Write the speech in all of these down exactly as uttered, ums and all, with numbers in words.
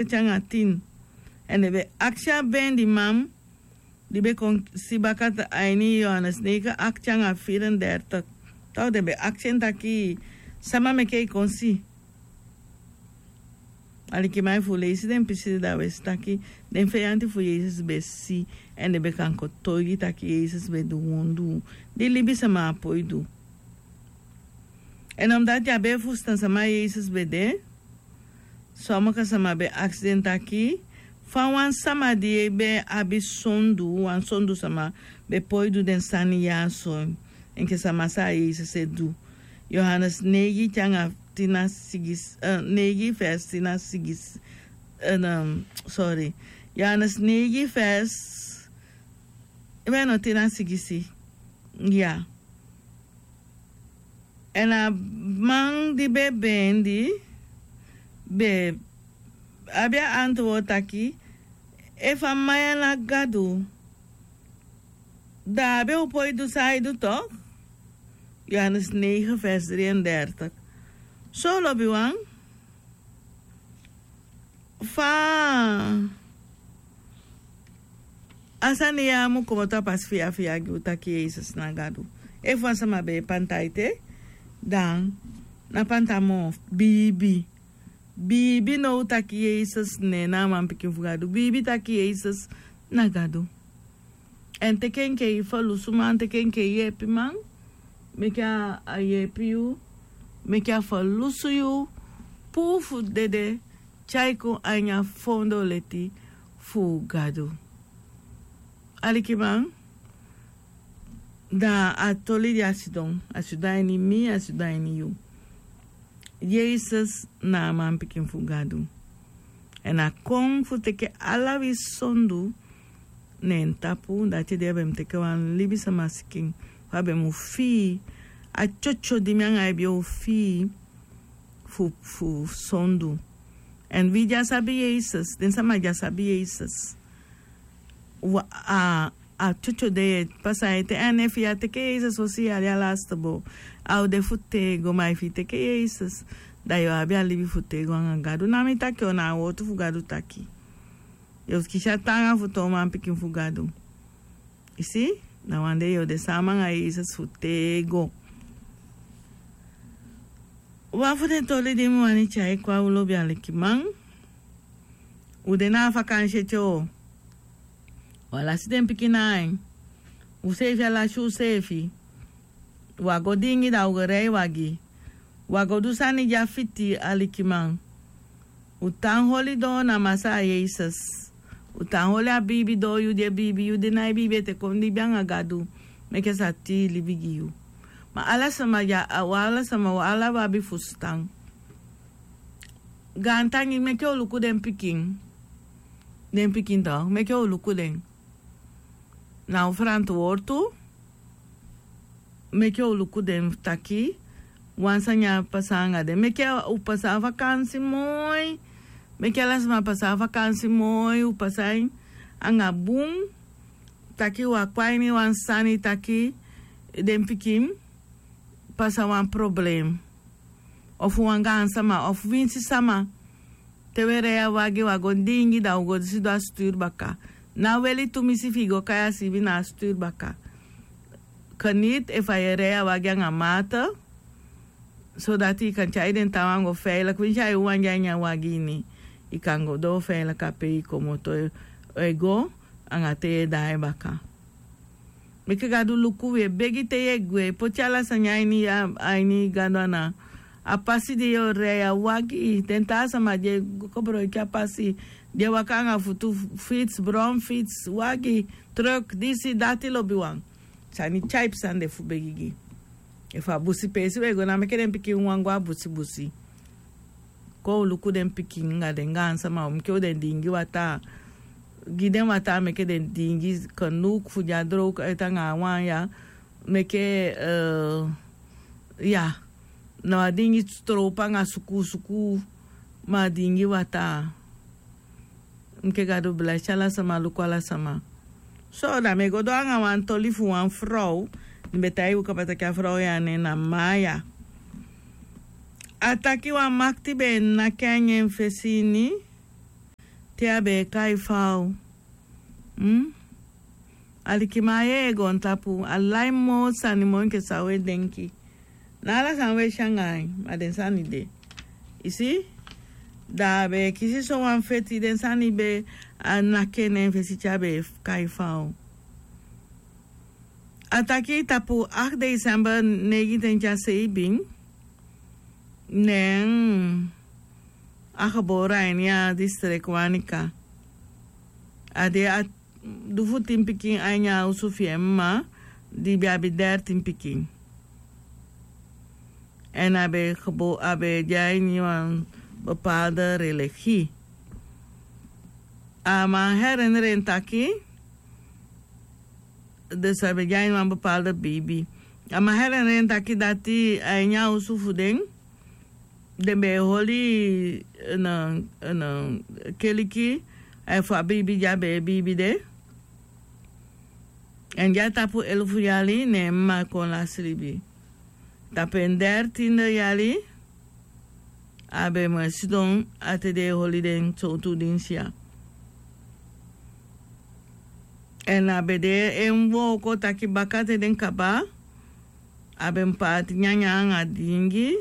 te anga tin. Èn den ben aksi a bendiman di ben kon si baka a ini Yohanes neigi aksi anga firendertik. Taw den ben aksi en taki sama meke i kon si. Alikiman, fu leisi den pisi de da we si taki den feyanti fu Yesus ben si, èn den ben kan kotoigi taki Yesus ben du wondu di libisama á poi du. Èn omdati a ben e fusutan sama Yesus ben de, somoko sama ben aksi den taki fa wan sama di ben abi sondu, wan sondu sama, ben poi du den sani ya so, enke sama san Yesus e du. Yohanes neigi te anga tin na sigisi, eh, neigi vers tin na sigisi, eh, sorry. Yohanes neigi vers, ben no, tin na sigisi. Ya. Èn a man di ben bendi ben abi a antwoord taki: efu a man ya na Gadu, da a ben o poi du san ai du toch. Yohanes neigi vers dri en dertik. So lobiwan, fa a sani ya mu komoto a pasi fiya fiya gi u taki Yesus na Gadu. Efu wan sama ben e panta ete, dan na panta moo. Biibi, biibi now taki Yesus ne na a manpikin fu Gadu. Biibi taki Yesus na Gadu. Èn teke enke i ferlusuman, teke enke i yeepiman, meke a yeepi yu, meke a ferlusu yu puu fu dede, tyai kon a ini a foondoo leti fu Gadu. Alikiman, da a toli di a sidon, a sidon a ini mi, a sidon a ini yu. Yesus na a manpikin fu Gadu. Èn a kon fu teke ala wi sondu na en tapu. Dati de a ben mu teke wan libisama sikin, fa a ben mu fii. A tyotyo di mi anga i be o fii fu, fu sondu. Èn wi di á sabi Yesus, den sama di á sabi Yesus, a, a tyotyo de yu e pasa ete. Èn efu yu á teke Yesus fosi yali a lasti boo, a o de fu tego. Ma efu yu teke Yesus, da yu o abi a libi fu tego anga Gadu. Na mi taki, na a wowtu fu Gadu taki. Yu o kisi a taanga fu toon manpikin fu Gadu. I si, na wan dei yu o de sama anga Yesus fu tego. Wan fu den toli di mi wani tyai kon a u lobi alikiman. U de na a fakansi ete o. U á lasi den pikin na ain. Useefi á lasi useefi. U á go diingi, da u go rei wagi. U á go du sani di á fiti, alikiman. U tan holi doo na Masaa Yesus. U tan holi a biibi doo, yu di e biibi, yu di nái biibi ete, kon libi anga Gadu. Meke a sa tii libi gi yu. Ma ala sama ya, a, u ala sama, u ala u abi fusutan. Gaantangi, meke u luku den pikin. Den pikin toch, meke u luku den. Na u ferantwortu. Meke u luku den taki wan sani á pasa anga den. Meke u pasa a fakansi moi. Meke ala sama pasa a fakansi moi, u pasa en anga bun. Taki u á kon a ini wan sani taki den pikin pasa wan problem. Ofu wan gaansama, ofu winsi sama. Te u e rei a wagi, u á go diingi, da u go sidon a sturu baka. Ná weli tumisi fi i go kai a siibi na a sturu baka. Geniet efu a e rei a wagi anga mate, sodati i kan tyai den taawan go veilig. Winsi a e wawan de a ini a wagi ini, i kan go doo veilig a pe i komoto e go, anga te yu e daai baka. Meke Gadu luku, wi e begi te yu e gwe, poti ala sani a ini, a ini Gadu ana. A pasi di yu o rei a wagi, den taa sama di e go kobroiki a pasi, di e waka anga futu, fiets, bromfiets, wagi, truck, disi, dati, lobiwan. Sani tyaipu sani de fu begi gi. Efu a busi peesi u e go, ná meke den pikin wawan go a busi busi. Kon u luku den pikin anga den gaansama, meke u den diingi wataa. Gi den wataa, meke den diingi, kanook fu di á droog uit anga a wan ya. Meke, eh, ya. Na a diingi stroop anga sukuu sukuu, ma a diingi wataa. Meke Gadu blesi ala sama, luku ala sama. So, da mi e go doo anga wan toli fu wan frow. Mi be taigi u kaba taki a frow ya nen na Maya. A taki wan makiti be e naki a ini en fesi ini. te a be e kai fau. Alikiman a yeye goontapu, a lai moo sani moo enke san u e denki. Na ala sani u e si anga en, ma den sani de. I si? Da a be e kisi sowan feti, den sani be e naki en na en fesi te a be e kai fau. A taki tapu acht december negentien tya seibin, ne en a gebore a ini a distrek Wanica. A de a du fu tin pikin a ini a osu fi en mma, di be abi dertin pikin. Èn a be gebore, a be de a ini wan bepaalde religie. A man herinneren taki, dus a be de a ini wan bepaalde bibi. A man herinneren taki dati a ini a osu fu den, den be e holi en, en keliki, efu a bibi di a be e bibi de. Èn di a tapu elufu yali, ne en mma kon lasi libi. Tapu en dertinde yali, a be mu e sidon a te den e holi den sowtu dinsi ya. Èn a be de en wooko taki baka te den kaba, a be mu paati nyanyan anga diingi.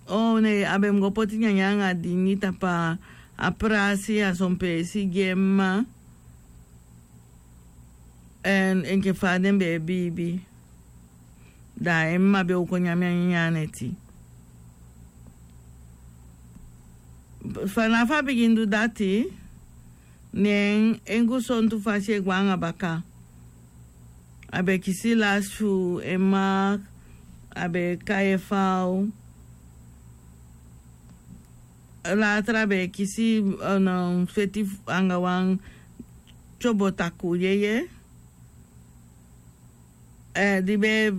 O ne, a be mu go poti nyanyan anga diingi tapu a prasi a son peesi gi en mma. Èn enke fa den be e biibi, da en mma be o kon nyan a nyanyan neti. Fanafu a bigin du dati, ne en gusontu fasi e gwe anga baka. A be kisi lasi fu en mma, a be kai en fau. Later a be kisi, eh, feti anga wan tyobo takuu yeye. Eh, di be,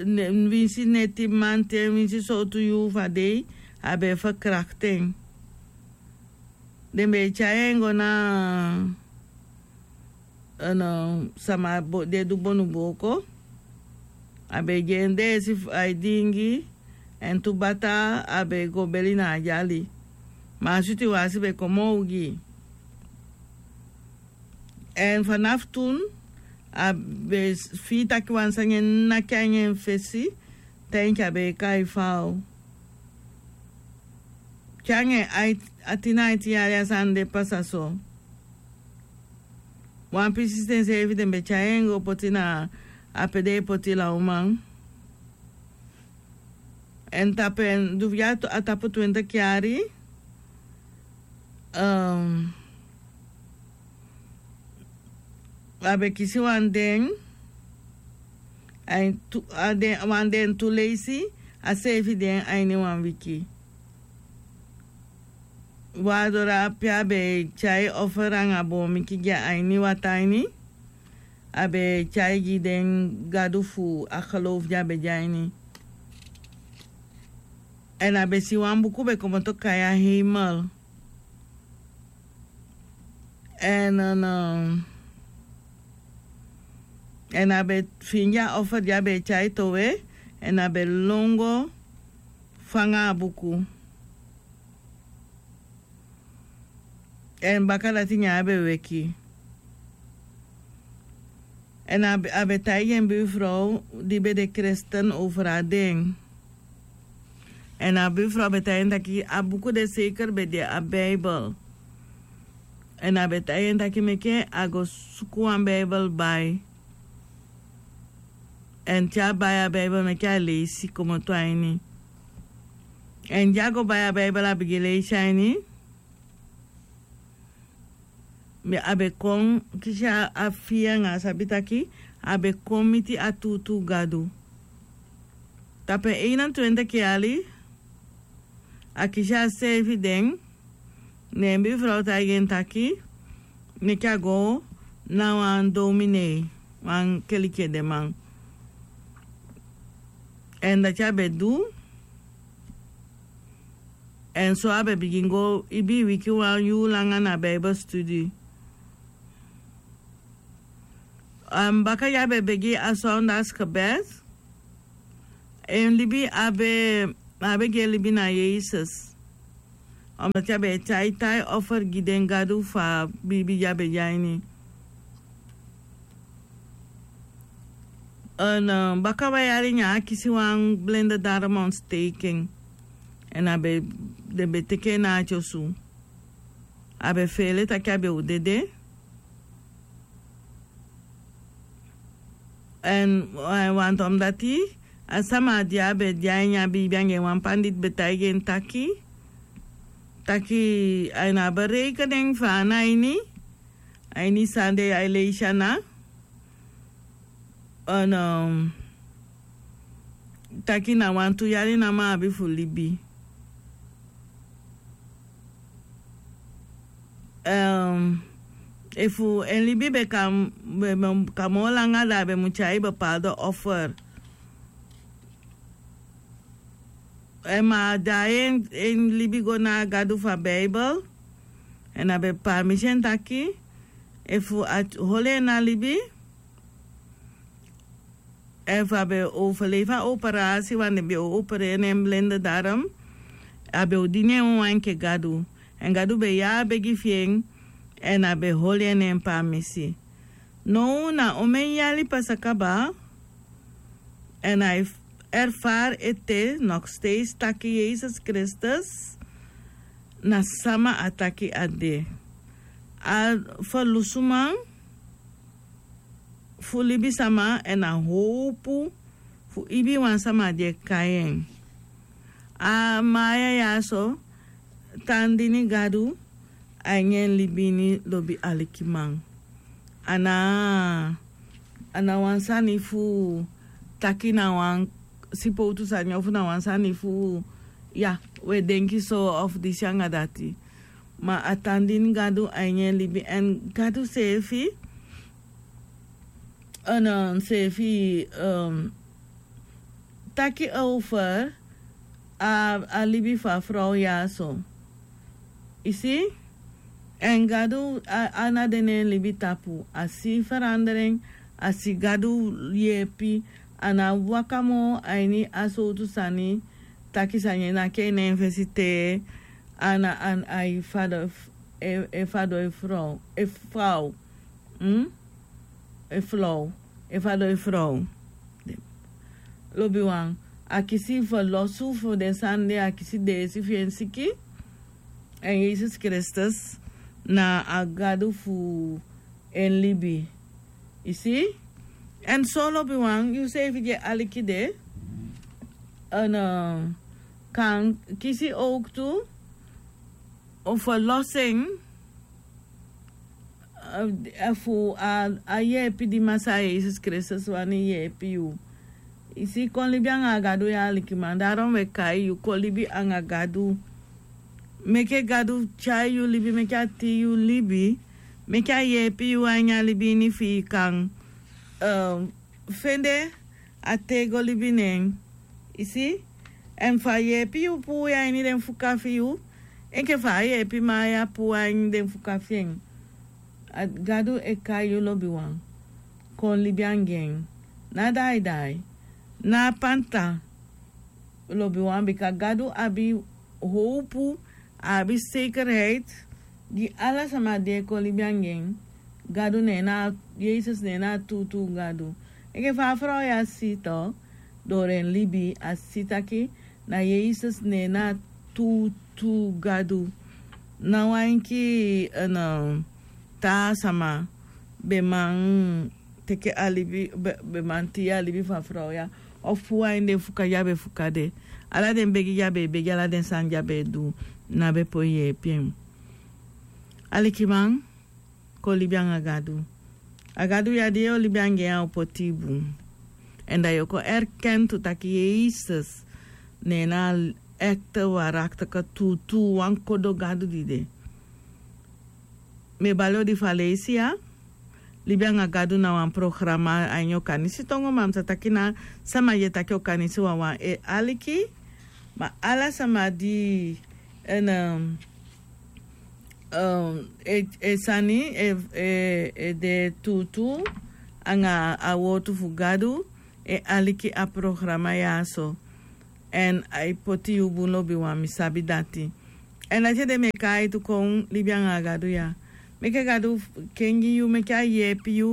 ne, winsi neti mamanten, winsi sowtu yuu fu a dei, a be e verkracht en. Den be e tyai en go na, eh, sama di e du bonubooko. A be e gi en deesi fu a e diingi, èn tu bata a be e go beli na a dyali. Ma a switi wasi be kon moo ogii. Èn fanafu tun, a be fii taki wan sani e naki en a ini en fesi, te enke a be e kai fau. Te anga en aiti na aiti yali a sani de pasa so. Wan pisi ten seefi den be tyai en go poti na a pe den e poti lawman. Èn tapu en, du fu a tapu twintig yali, eh, a be kisi wan den, a ini tu, a den, wan den tu leisi, a seefi den a ini wan wiki. Waardoor a pe a be e tyai offer anga boomiki gi a ini wataa ini, a be e tyai gi den gadu fu a geloof di a be de a ini. Èn a be si wan buku be komoto kai a heimel. Èn, eh, èn a be fende a offer di a be e tyai towe, èn a be lon go fanga a buku. Èn baka dati ne a be weki. Èn a be, a be taigi en buurvrouw di be de kristen over a den. Èn a buurvrouw be taigi en taki a buku de zeker be de a Bijbel. Èn a be taigi en taki meke a go suku wan Bijbel bai. Èn te a bai a Bijbel, meke a leisi komoto a ini. Èn di a go bai a Bijbel, a bigin leisi a ini. A be kon kisi a fii anga a sabi taki a be kon miti a tuutuu Gadu. Tapu en einentwintig yali, a kisi a seefi den, ne en buurvrouw taigi en taki meke a go na wan dominee, wan keliki edeman. Èn dati a be du. Èn so a be bigin go ibii wiki wan yuu langa na Bijbelstudie. Baka di a be begi a zondagsgebed, en libi a be, a be gi en libi na Yesus. Omdati a be e tyai tai offer gi den gadu fu a biibi di a be de a ini. Baka wan yari nyan a kisi wan blinde darm ontsteken. Èn a be den be teke en na a tyosu. A be feele taki a be o dede. Èn wantu omdati a sama di a be de a ini a biibi anga en wan panditi be taigi en taki, taki a ini a berekening fu a na ini a ini sande a e leisi ana. Taki na wantu yari namo a abi fu libi. Efu en libi be kan be kan moo langa da a be mu tyai bepaalde offer. Ma a daai en libi go na a gadu fu a beibel. Èn a be paamisi en taki efu a holi en na libi, efu a be overleef a operasi wan den be o opereri en blinde darm, a be o dini en wawan enke gadu. Èn gadu be yee a begi fi en. Èn a be holi en na en paamisi. Now na omen yali pasa kaba. Èn a e erfari ete noksteisi taki yesus kristus na sama a taki a de. A ferlusuman fu libisama èn a howpu fu ibi wan sama di e kai en. A maya ya so tan dini gadu a ini en libi ini lobi alikiman. A na a na wan sani fu taki na wan sipowtu sani ofu na wan sani fu ya, we denki so ofu disi anga dati. Ma a tan dini gadu a ini en libi èn gadu seefi a na seefi taki over a libi fu a frow ya so. I si? Èn gadu a na de na en libi tapu a si feranderen. A si gadu yeepi. A na waka moo a ini a sowtu sani taki sani en na kei na en fesi te a na a e fado e fado e frow e faw e flow e fado e frow. Lobiwan, a kisi fu losu fu den sani de a kisi deesi fi en siki. Èn yesus kristus na a gadu fu en libi. I si? Èn so lobiwan yu seefi di e aliki de èn kan kisi owktu fu losu en fu a yeepi di masaa yesus kristus wani yeepi yu. I si kon libi anga a gadu ya alikiman daron we kai yu kon libi anga gadu. Meke gadu tyai yu libi meke a tii yu libi meke a yeepi yu a ini a libi ini fi i kan fende a tego libi nen. I si? Èn fa a yeepi yu puu yu a ini den fuka fi yu enke fa a yeepi man ya puu a ini den fuka fi en. Gadu e kai yu lobiwan kon libi anga en. Na daidai na a panta. Lobiwan bika gadu abi howpu a abi sekerheit gi ala sama di e kon libi anga en. Gadu ne en na yesus ne en na a tuutuu gadu. Enke fa a frow ya si to dori en libi a si taki na yesus ne en na a tuutuu gadu. Na wan enke taa sama be man teke a libi be man tii a libi fu a frow ya ofu puu a ini den fuka di a be fuka de. Ala den begi di a be e begi ala den sani di a be e du na be poi yeepi en. Alikiman, kon libi anga gadu. A gadu ya di yu o libi anga en a o poti yu bun. Èn da yu o kon erken tu taki yesus ne en na a ekte warakteke tuutuu wan kodo gadu di de. Mi e bali odi fu a leisi ya. Libi anga gadu na wan programa a ini okanisi tongo ma mi sa taki na sama di e taki okanisi wawan e aliki. Ma ala sama di e sani e de tuutuu anga a wowtu fu gadu e aliki a programa ya so. Èn a e poti yu bun lobiwan mi sabi dati. Èn dati ede mi e kai tu kon libi anga a gadu ya. Meke gadu kengi yu, meke a yeepi yu,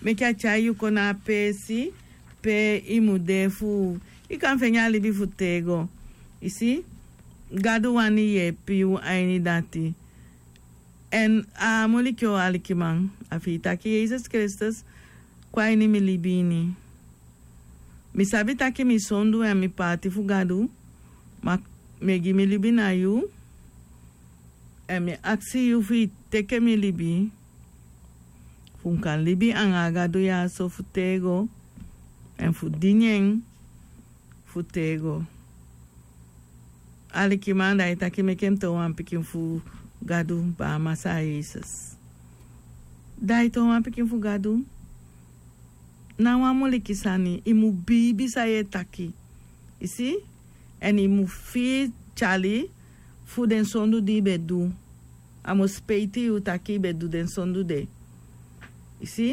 meke a tyai yu kon na a peesi pe i mu de fu i kan feni a libi fu tego. I si, gadu wani yeepi yu a ini dati. Èn a muliki o alikiman, a fi i taki yesus kristus kon a ini mi libi ini. Mi sabi taki mi sondu èn mi paati fu gadu, ma mi e gi mi libi na yu. Èn mi aksi yu fu i teke mi libi, fu mi kan libi anga a gadu ya so fu tego, èn fu dini en fu tego. Alikiman, da i taki meke mi toon wan pikin fu gadu, baa masaa yesus. Da i toon wan pikin fu gadu. Na wan muliki sani, i mu biibi san yu e taki. I si? Èn i mu fii tyali fu den sondu di i be du. A mu speiti yu taki i be du den sondu de. I si?